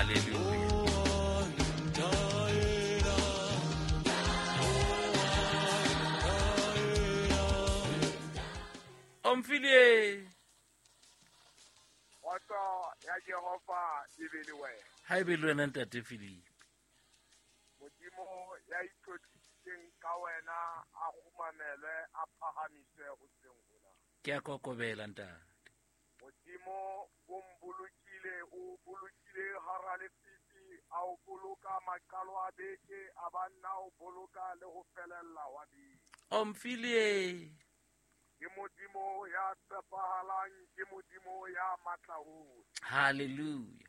Hallelujah. Omphile. Kgotso ya Jehova e be le wena. Ha e be le wena, ntate Philip. Modimo ya itlotlisitseng ka wena a kgumamelwe, a phahamiswe hoseng hona. Ke a kokobela, ntate. Modimo o mbolokile, o bolokile hara lefifi, a o boloka maqalo a beke, a ba nna o boloka le ho felella wa beke. Omphile. Ke Modimo ya tshepahalang, ke Modimo ya matla hohle. Hallelujah.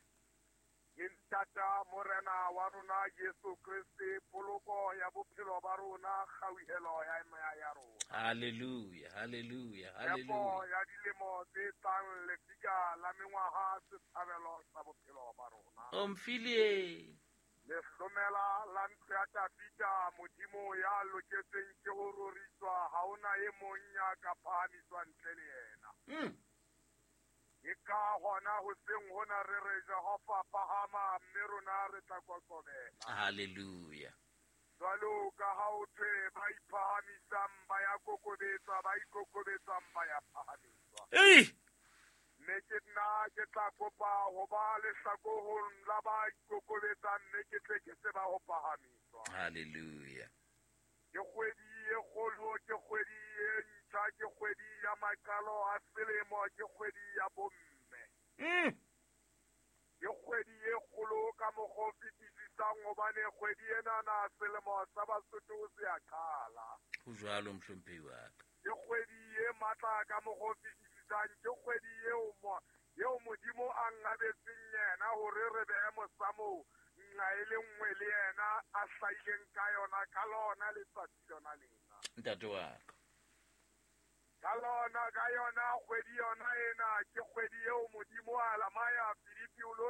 Ke ntata Morena wa rona Jesu Kreste, poloko ya bophelo ba rona, kgauhelo ya moya ya rona. Hallelujah. Hallelujah. Tshepo Hallelujah. ya dilemo tse tlang, lefika la mengwaha, setshabelo sa bophelo ba rona. Omphile. Lehlomela la ntlo ya Dafida, Modimo ya loketseng ke ho roriswa, ha hona e mong ya ka phahamiswa ntle le yena. Ke ka hona hoseng hona re re Jehova phahama, mme rona re tla kokobela. Hallelujah. Jwalo ka ha ho thwe ba iphahamisang ba ya kokobetswa, ba ikokobetsang ba ya phahamiswa. Ei! Mme ke nna ke tla kopa ho ba lehlakoreng la ba ikokobetsang, mme ke tle ke tseba ho phahamiswa. Hallelujah. Ke kgwedi e kgolo, ke kgwedi e ntjha, ke kgwedi ya maqalo a selemo, ke kgwedi ya bomme. Ke kgwedi e kgolo ka mokgwa o fetisisang, hobane kgwedi enana selemo sa Basotho se a qala. Ho jwalo, mohlomphehi wa ka. Ke kgwedi e matla ka mokgwa o fetisisang, ke kgwedi eo Modimo a ngabetseng yena hore re behe mosamo nqa e le nngwe le yena a hlahileng ka yona ka lona letsatsi lona lena. Ntate wa ka. Ka lona, ka yona kgwedi yona ena, ke kgwedi eo Modimo a lamaya Filipi o lo